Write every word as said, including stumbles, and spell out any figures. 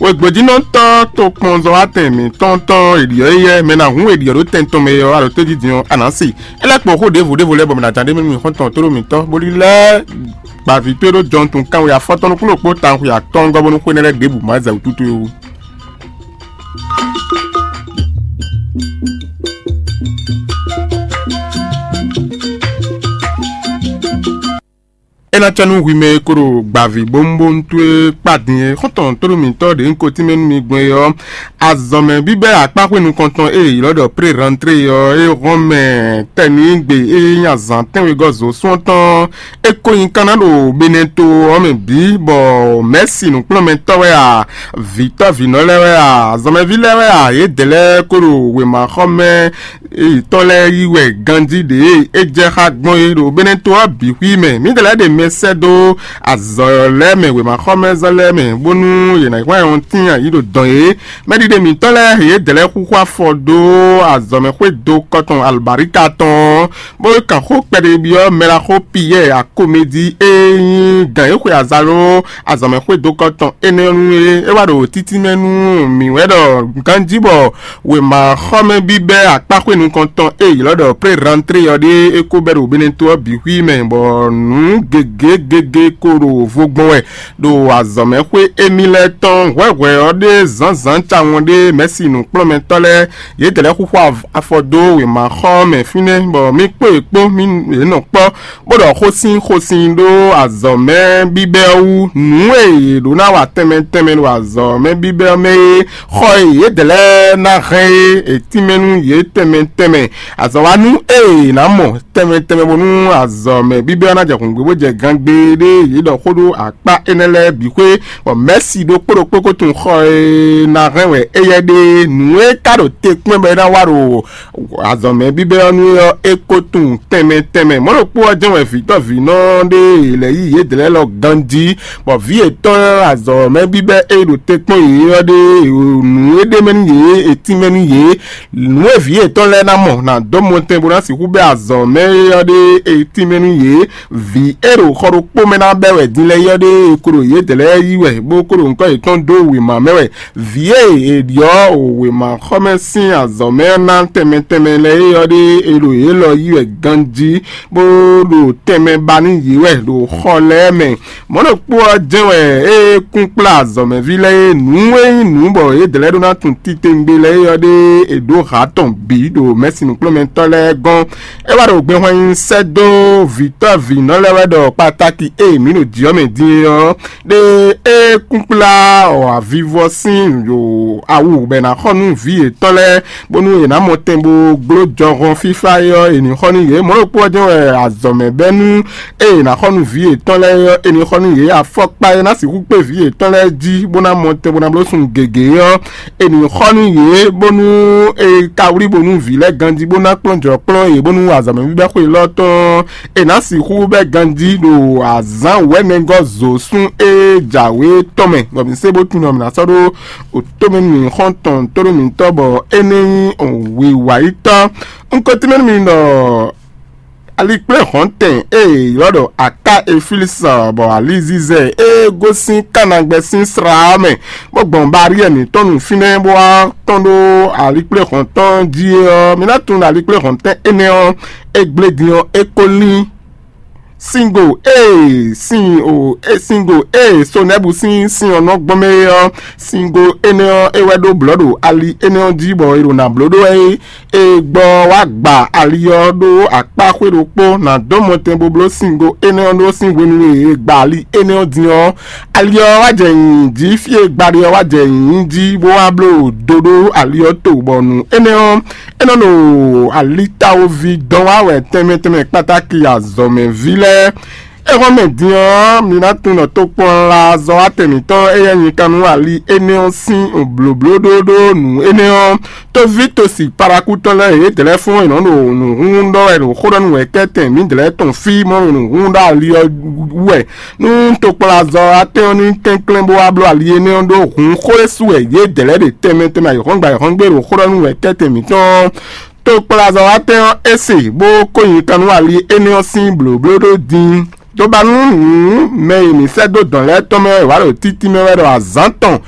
Egbojínɔtɔ́ tokpɔnzɔ́watɛn mǐtɔn tɔn èɖiɔ éyɛ́ mɛ ná hun èɖiɔ ɖó tɛn tɔn mɛ ɔ́ alɔ tójijin ɔ́, anǎ se. É lɛ́ kpɔ́n xó ɖěvo ɖěvo lɛ́ɛ bɔ mɛ ná ján ɖé mɛ nú mì xɔ́ntɔn tóɖó mǐtɔn, bó lílɛ́ gbavǐ towe ɖó jɔntun kanwe afɔtɔn nukúnnú kpó tawun xwe atɔ́ɔ́ngɔ́ bónú xwé nɛ́ lɛ́ɛ ɖěbǔ má zɛ wǔtútú é wú. É ná cɛ nú hwi mɛ e ko ɖo gbavǐ bónúbónú towe kpá din é. Xɔ́ntɔn tónú mǐtɔn ɖě un ko tínmɛ nú mi gbɔn é ɔ́, azɔ̌mɛ bíbɛ́ akpáxwé nukɔntɔn e è ylɔ́ ɖɔ pré rantré ɔ́, é hɔn mɛ tɛnígbe e nyí azǎn tɛ́nwegɔ́ zǒsún ɔ́ tɔn é ko nyí kanna ɖo Benɛto ɔ́ mɛ bǐ, bɔ mɛ̌si nǔkplɔ́nmɛtɔ́ wɛ a, vǐtɔ́vǐnɔ lɛ́ɛ wɛ a, azɔ̌mɛví lɛ́ɛ wɛ a, yědɛɛ lɛ́ɛ ko ɖo wěmaxɔmɛ yětɔn lɛ́ɛ yí wɛ ganjí ɖě e é jɛ xá gbɔn é ɖo Benɛto ɔ́ bǐ xwí mɛ. Mǐdɛɛ lɛ́ɛ ɖe mɛ sɛ́ dó azɔ̌ lɛ́ɛ mɛ, wěmaxɔmɛzɔn lɛ́ɛ mɛ, bónú yě ná hwlɛ́n ɔ́ tíin ayǐ ɖo dɔn é. Mɛɖiɖe mǐtɔn lɛ́ɛ yědɛɛ lɛ́ɛ xúxú afɔ dó azɔ̌mɛxwé dó kɔtɔn alɔbǎríka tɔn ɔ́, bó kan xó kpɛɖébyɔ́ mɛɖaxó Piyɛ́ɛ akoméjí e nyí gǎn e xwe azaló azɔ̌mɛxwédokɔ tɔn énɛ́ ɔ́ nú é. É wá ɖo títínmɛ nú mǐ wɛ ɖɔ ganjí bɔ wěmaxɔmɛ bíbɛ́ akpáxwé nukɔntɔn e è ylɔ́ ɖɔ pré rantré ɔ́ ɖíe é ko bɛ́ ɖo Beneto ɔ́ bǐ xwí mɛ, bɔ nǔ gěgé gěgé ko ɖo vo gbɔn wɛ ɖo azɔ̌mɛxwé émí lɛ́ɛ tɔn hwɛ̌hwɛ̌ ɔ́ ɖé zǎnzǎn tawun ɖé mɛ̌si nǔkplɔ́nmɛtɔ́ lɛ́ɛ yědɛɛ lɛ́ɛ xúxú afɔ dó wěmaxɔ mɛ fínɛ́, bɔ mì kpó yě kpó mì yě nɔ kpɔ́, bó ɖɔ xó sín xó sín ɖó azɔ̌ mɛ bíbɛ́ ɔ́ wú. Nǔ e yě ɖó ná wa tɛnmɛ tɛnmɛ ɖo azɔ̌ mɛ bíbɛ́ ɔ́ mɛ é, xɔ e yědɛɛ lɛ́ɛ ná hɛn é, è tínmɛ nú yě tɛnmɛ tɛnmɛ. Azɔ̌wanú e è nǎ mɔ tɛnmɛ tɛnmɛ bónú azɔ̌ mɛ bíbɛ́ ɔ́ ná jɛ hǔngbé bó jɛ gangbé ɖé yě ɖɔ xó ɖó akpá énɛ́ lɛ́ɛ bǐ xwé, bɔ mɛ̌si ɖokpó ɖokpó ko tunwun xɔ e ná hɛn wɛ éyɛ́ ɖe. Nǔ e ka ɖo te kpɛ́n bɔ é ná wa ɖo azɔ̌mɛ bíbɛ́ ɔ́ nú é ɔ́, é ko tunwun tɛnmɛ tɛnmɛ. Mɔ̌ ɖokpó ɔ́ jɛ́n wɛ vǐtɔ́vǐnɔ ɖé lɛ́ yí yědɛɛ lɛ́ɛ lɔ ganjí, bɔ vǐ yětɔn azɔ̌mɛ bíbɛ́ e ɖo te kpɔ́n yě ɔ́ ɖe nǔ e ɖ'é mɛ nú yě é tínmɛ nú yě. Nǔ e vǐ yětɔn lɛ́ɛ ná mɔ ná dó mɔtɛn bó ná sixú bɛ́ azɔ̌mɛ é ɔ́ ɖe é tínmɛ nú yě. Vǐ e ɖo xɔ ɖokpó mɛ ná bɛ́ wɛ din lɛ́ɛ é ɔ́ ɖe é ko ɖo yědɛɛ lɛ́ɛ yí wɛ, bó ko ɖo nyǐkɔ yětɔn dó wěma mɛ wɛ. Vǐ e è ɖyɔ́ wěmaxɔmɛ sín azɔ̌ mɛ ná tɛnmɛ tɛnmɛ lɛ́ɛ é ɔ́ ɖe è ɖo yě lɔ yí wɛ ganjí, bó ɖo tɛnmɛ ba nú yě wɛ ɖo xɔ lɛ́ɛ mɛ. Mɔ̌ ɖokpó ɔ́ jɛ́n wɛ é kún kplá azɔ̌mɛví lɛ́ɛ é nǔ e nyí nǔ bɔ yědɛɛ lɛ́ɛ ɖó ná tunwun titewungbe lɛ́ɛ é ɔ́ ɖe è ɖǒ hǎ tɔn bǐ ɖo mɛ̌si nǔkplɔ́nmɛtɔ́ lɛ́ɛ gɔ́n. É wá ɖo gbɛhwan nyi sɛ́ dó vǐtɔ́ vǐnɔ lɛ́ɛ wɛ ɖɔ kpatáki e mǐ ɖo jǐ ɔ́ mɛ din é ɔ́, ɖe é kún kplá avivɔ sín awu bɔ è nǎ xɔ nú vǐ yětɔn lɛ́ɛ, bónú è nǎ mɔ tɛn bó gló jɔhɔn fífá é ɔ́, è nǐ xɔ nú yě. Mɔ̌ ɖokpó ɔ́ jɛ́n wɛ azɔ̌ mɛ bɛ́ nú ée è nǎ xɔ nú vǐ yětɔn lɛ́ɛ é ɔ́, è nǐ xɔ nú yě. Afɔkpa e ná sixú kpé vǐ yětɔn lɛ́ɛ jí bó ná mɔ tɛn bó ná bló sun gěgé ɔ́, è nǐ xɔ nú yě, bónú è ka wlí bo nú vǐ lɛ́ɛ ganjí bó ná kplɔ́n jɔ̌ kplɔ́n yě, bónú azɔ̌ mɛ bíbɛ́ xwe élɔ́ tɔn è nǎ sixú bɛ́ ganjí ɖo azǎn wɛ̌nɛgɔ́ zǒsún e jǎwe tɔn mɛ, bɔ mǐ sé bó tunwun ɔ́, mǐ ná sɔ́ ɖó òtómɛ nú mǐ xɔ́ntɔn tónú mǐtɔn, bɔ é ní nyí wǐwáyítɔ́. Un ko tínmɛ nú mi ɖɔ alikpléhɔ̌ntɛn e è ylɔ́ ɖɔ aká eflísɔ bɔ alizizɛ e gosín kánagbɛ sín sra ɔ́ mɛ, bó gbɔn baríɛ mǐtɔn nu fínɛ́ bó wá tɔ́n ɖó alikpléhɔ̌ntɔn jí é ɔ́, mi ná tunwun ɖɔ alikpléhɔ̌ntɛn énɛ́ ɔ́, é gblé din ɔ́, é ko lín. Singo e sin o e singo e Sonɛ́bu sín sin ɔ́ nɔ gbɔn mɛ é ɔ́, singo énɛ́ ɔ́, é wɛ ɖó blɔ̌ ɖo ali énɛ́ ɔ́ jí bɔ è ɖo nǎ bló ɖó wɛ é. È gbɔ wá gba ali ɔ́ ɖó akpá xwé ɖokpó, nǎ dó mɔtɛn bó bló singo énɛ́ ɔ́ ɖó sín hwenu e è gba ali énɛ́ ɔ́ din ɔ́. Ali ɔ́ wá jɛ nyǐnyí jí fí e gbali ɔ́ wá jɛ nyǐnyí jí, bó wá bló do ɖó ali ɔ́ to, bɔ nǔ énɛ́ ɔ́, é nɔ ɖo alitawoví dɔn wá wɛ tɛnmɛ tɛnmɛ kpátáki azɔ̌mɛví lɛ́ɛ. Éhɔ́nmɛ din ɔ́, mi ná tunwun ɖɔ tokpɔnla azɔ̌watɛn mǐtɔn éyɛ́ nyi kan nú ali énɛ́ ɔ́ sín blǒblóɖóɖó nǔ énɛ́ ɔ́, tóví tosi parakútɔ́ lɛ́ɛ yědɛɛ lɛ́ɛ fún è nɔ ɖo nǔhúnhún ɖɔ wɛ ɖo xó ɖɔ nú wɛ̌kɛ́tɛn mǐdɛɛ lɛ́ɛ tɔn fí mɔ ɖo nǔhúnhún ɖɔ ali ɔ́ wú wɛ. Nú tokplazɔ atɛ́n ɔ́ ní kɛnklɛ́n bó wá bló ali énɛ́ ɔ́ ɖó hǔn xó e su wɛ yědɛɛ lɛ́ɛ ɖe tɛnmɛ tɛnmɛ ayǐhɔ́ngbe ayǐhɔ́ngbe ɖo xó ɖɔ nú wɛ̌kɛ́tɛn mǐtɔn ɔ́, tokplazɔ atɛ́n ɔ́ é se bó kó nyi kan nú ali énɛ́ ɔ́ sín blǒblóɖó din. Tobanu nǔ mɛ e mǐ sɛ́ dó dɔ̌n lɛ́ɛ tɔn mɛ wɛ è wǎ ɖo títí mɛ wɛ ɖɔ azǎn tɔn e